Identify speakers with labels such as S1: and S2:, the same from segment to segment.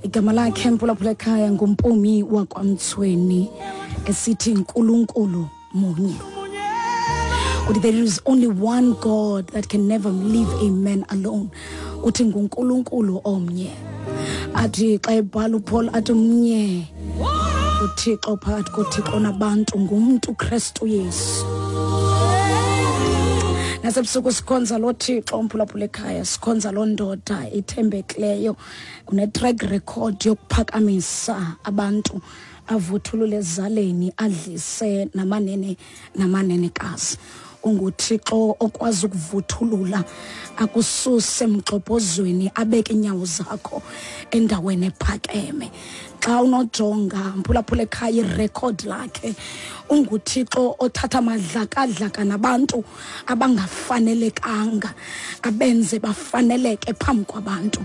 S1: Igama lakhe mphulaphula ekhaya nguMpumi wakwaMtsweni, esithi Nkulunkulu munye. Uthi there is only one God that can never leave a man alone. Uthi nguNkulunkulu omnye. Athi xa ebhala uPaul athi mnye uThixo phakathi koThixo nabantu ngumntu Kristu Yesu. Nasebusuku sikhonza lo Thixo umphulaphula ekhaya, sikhonza loo ndoda ithembekileyo, une-track record yokuphakamisa abantu, avuthulule ezaleni, adlise namanene namanenekazi. UnguThixo okwazi ukuvuthulula akususe emgxobhozweni, abeke inyawo zakho endaweni ephakeme. Xa unojonga mphulaphula ekhaya irekhodi lakhe, unguThixo othatha amadlakadlaka nabantu abangafanelekanga abenze bafaneleke phambi kwabantu.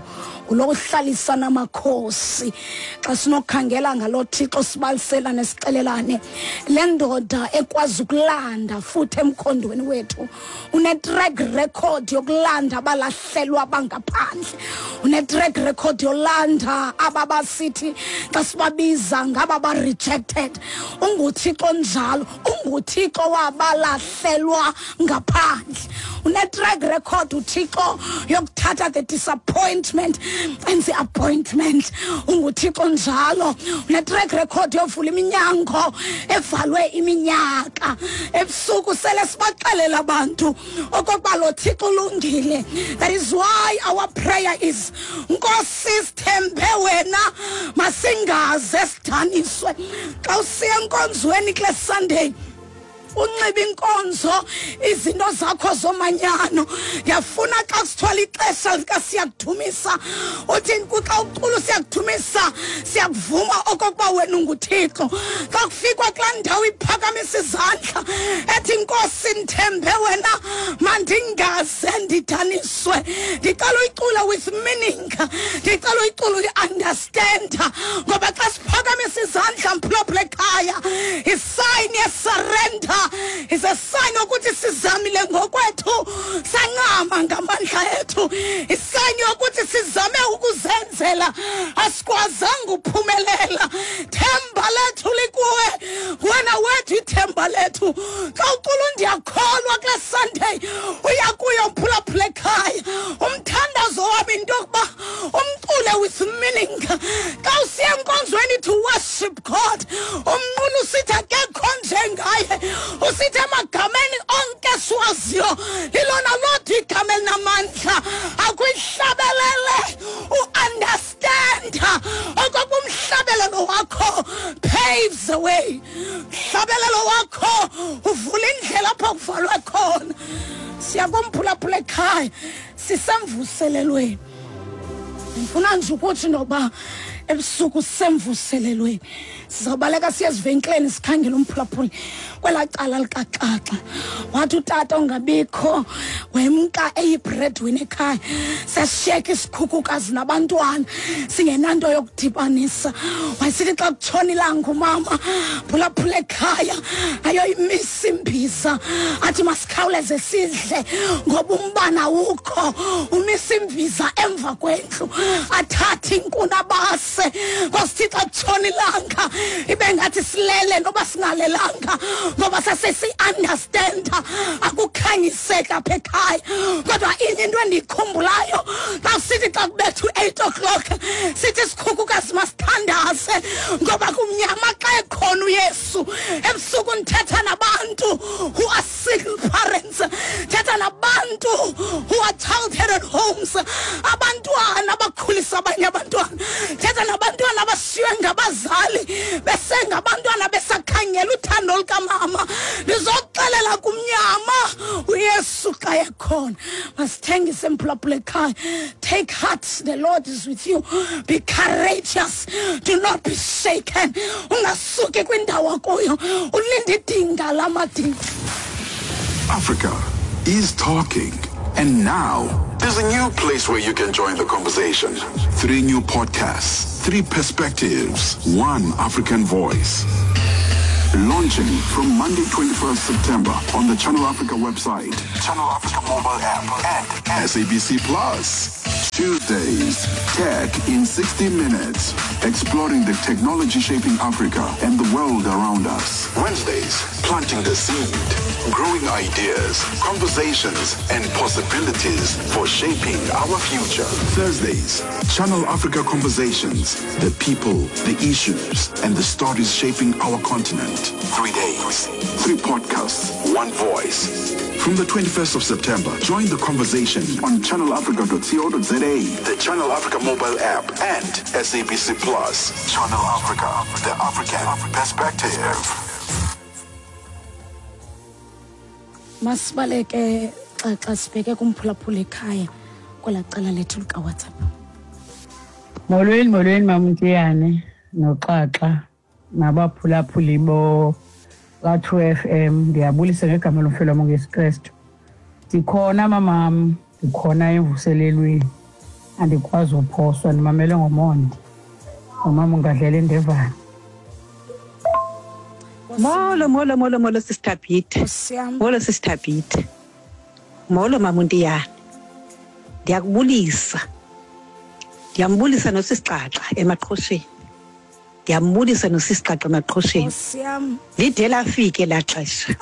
S1: Ngulo uhlalisa namakhosi. Xa sinokhangela ngalo Thixo sibaliselane sixelelane, le ndoda ekwazi ukulanda futhi emkhondweni wethu, une-track record yokulanda abalahlelwa bangaphandle, une-track record yolanda aba basithi xa sibabiza ngaba ba-rejected. UnguThixo njalo, unguThixo wabalahlelwa ngaphandle. Une-track record uThixo yokuthatha the disappointment and the appointment. UnguThixo njalo, une-track record yovula iminyango evalwe iminyaka. Ebusuku sele sibaxelela abantu okokuba lo Thixo ulungile. That is why our prayer is, Nkosi sithembe wena, masingaze sidaniswe. Xa usiya enkonzweni kule Sunday, unxiba inkonzo, izinto zakho zomanyano, ndiyafuna xa kusithwala ixesha lika siyakudumisa, uthi xa ucula siyakudumisa, siyakuvuma okokuba wena unguThixo. Xa kufikwa kulaa ndawo iphakamisa izandla ethi Nkosi ndithembe wena, mandingaze ndidaniswe. Ndicela uyicula with meaning, ndicela uyicula uyi-understand, ngoba xa siphakamisa izandla mphulaphula ekhaya, isign yesurrender, is a sign yokuthi sizamile ngokwethu sancama ngamandla ethu, isign yokuthi sizame ukuzenzela asikwazanga uphumelela. Themba lethu likuwe wena wethu, ithemba lethu. Xa ucula ndiyakholwa kule Sunday uya kuyo mphulaphula ekhaya, umthandazo wam into yokuba umcule with meaning. Xa usiya enkonzweni to worship God, umnqula usithi akekho njengaye, usithi emagameni onke siwaziyo lilona lodwa igama elinamandla. Akuyihlabelele u-understanda okokuba umhlabelelo wakho paves the way, mhlabelelo wakho uvula indlela apho kuvalwe khona. Siyakumphulaphula ekhaya, sisemvuselelweni. Ndifuna nje ukuthi nokuba ebusuku sisemvuselelweni, sizawubaleka siye ezivenkileni sikhangele umphulaphuli kwelaa cala likaxaxa. Wathi utata ongabikho wemka eyibreadwinner ekhaya, sesishiyeka isikhukukazi nabantwana singenanto yokudibanisa. Wayesithi xa kutshona ilanga umama phulaphula ekhaya ayoyimisa imbiza, athi masikhawuleze sidle ngoba umbane awukho. Umisa imbiza emva kwendlu, athathe inkuni abase. Kwasithi xa kutshona ilanga ibe ngathi silele noba singalelanga, ngoba sasesi-understanda akukhanyiseki apha ekhaya. Kodwa inye into endiyikhumbulayo, xa sithi xa kubetha u-8 o'clock sithi sikhukukazi masithandaze ngoba kumnyama xa ekhona uYesu. Ebusuku ndithetha nabantu who are single parents, thetha nabantu who are child headed homes, abantwana abakhulisa abanye abantwana, thetha nabantwana abashiywe ngabazali besengabantwana besakhangela uthando lukamama. Ndizokuxelela kumnyama uYesu xa ekhona. Masithengise mphulaphula ekhaya. Take heart, the Lord is with you. Be courageous, do not be shaken. Ungasuki kwindawo kuyo, ulinde idinga lamadinga.
S2: Africa is talking. And now, there's a new place where you can join the conversation. 3 new podcasts, 3 perspectives, 1 African voice. Launching from Monday 21st September on the Channel Africa website, Channel Africa mobile app, and SABC Plus. Tuesdays, Tech in 60 Minutes, exploring the technology shaping Africa and the world around us. Wednesdays, planting the seed, growing ideas, conversations, and possibilities for shaping our future. Thursdays, Channel Africa Conversations, the people, the issues, and the stories shaping our continent. 3 days, 3 podcasts, one voice. From the 21st of September, join the conversation on channelafrica.co.za, the Channel Africa mobile app, and SABC Plus. Channel Africa, the African perspective.
S1: Masibaleke xa sibheke kumphulaphula ekhaya kwelaa cala lethu likaWhatsApp.
S3: Molweni, molweni maMtiyane noXaxa nabaphulaphuli bo ka-2 FM. Ndiyabulisa ngegama lomfelo wam uYesu Kristu. Ndikhona mamam, ndikhona emvuselelweni, andikwazi uphoswa, ndimamele ngomonde. Nomama ungadlela indevane.
S4: Molo, molo, molo, molo Sister Beauty. Molo Sister Beauty. Molo maMuntiyane. Ndiyakubulisa. Ndiyambulisa nosisiXaxa emaqhosheni. Ndiyambulisa nosisiXaxa emaqhosheni. Lide lafike la xesha.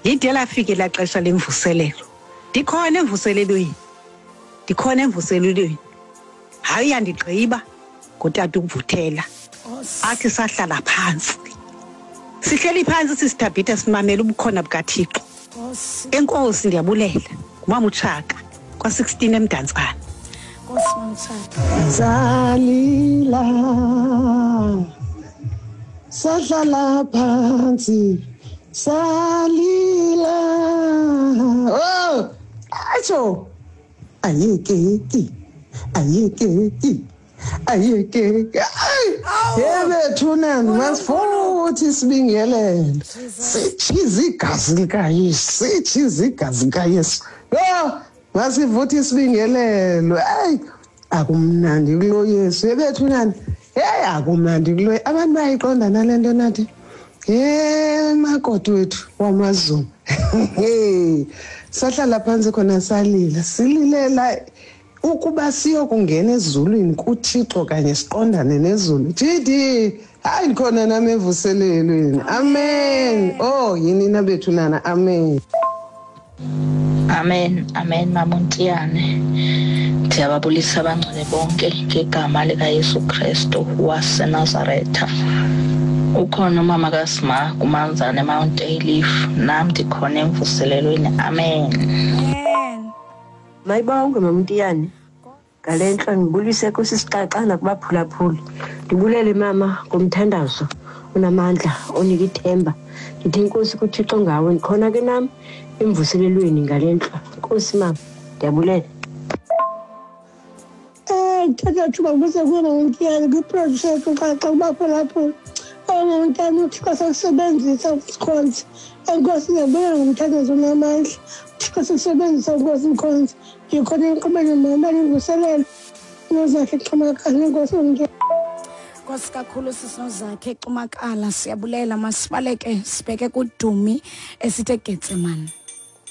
S4: Lide lafike la xesha lemvuselelo. Ndikhona emvuselelweni. Ndikhona emvuselelweni. Hayi uyandigqiba ngotata ukuvuthela. Athi sahlala phansi. Sihleli phansi sisithabhitha simamele ubukhona bukaThixo. Enkosi ndiyabulela. Ngumama uTshaka kwa-16 eMdantsane.
S1: Nkosi maMtshaka.
S5: Salila sahlala phansi salila. Oh, atsho ayekeki ayekeki ayekeki. Yebethunani masifuthi sibingelele sitshiza igazi likaYesu, sitshiza igazi likaYesu. Yho, masivuthi isibingelelo. Hayi, akumnandi kulo Yesu. Yebethunani, hey, akumnandi kulo. Abantu bayayiqonda nale nto nathi. Hey, makoti wethu wamaZulu. Hey, sahlala phansi khona salila, sililela ukuba siyokungena ezulwini kuThixo kanye siqondane nezulu. Jidi, hayi ndikhona nami evuselelweni. Amen. Oh, yini na bethu nana. Amen.
S6: Amen, amen maMuntiyane. Ndiyababulisa abangcwele bonke ngegama likaYesu Kristu waseNazaretha. Ukhona umama kaSima kuManzana eMount Ayliff, nam ndikhona emvuselelweni. Amen.
S1: Amen.
S7: Mayibongwe maMuntiyane. Ngale ntlo ndibulise kusisiXaxa nakubaphulaphuli. Ndibulele mama ngomthandazo onamandla onika ithemba. Ndithi inkosi kuThixo ngawe, ndikhona ke nam emvuselelweni ngale ntlo. Nkosi mama, ndiyabulela.
S8: Ndithatha thuba kuze kuye maMuntiyane kwiprojekthi uXaxa kubaphulaphuli. OMamntiyane uThixo sekusebenzisa ukusikhonza. Enkosi ndiyabulela ngomthandazo onamandla. uThixo sekusebenzisa uNkosi mkhonzi. Ndikhona enkqubeni mama imvuselelo. Nozakhe Xumakala, inkosi mntwana.
S1: Nkosi kakhulu sisiNozakhe Xumakala, siyabulela. Masibaleke sibheke kuDumi esithe Getsemane.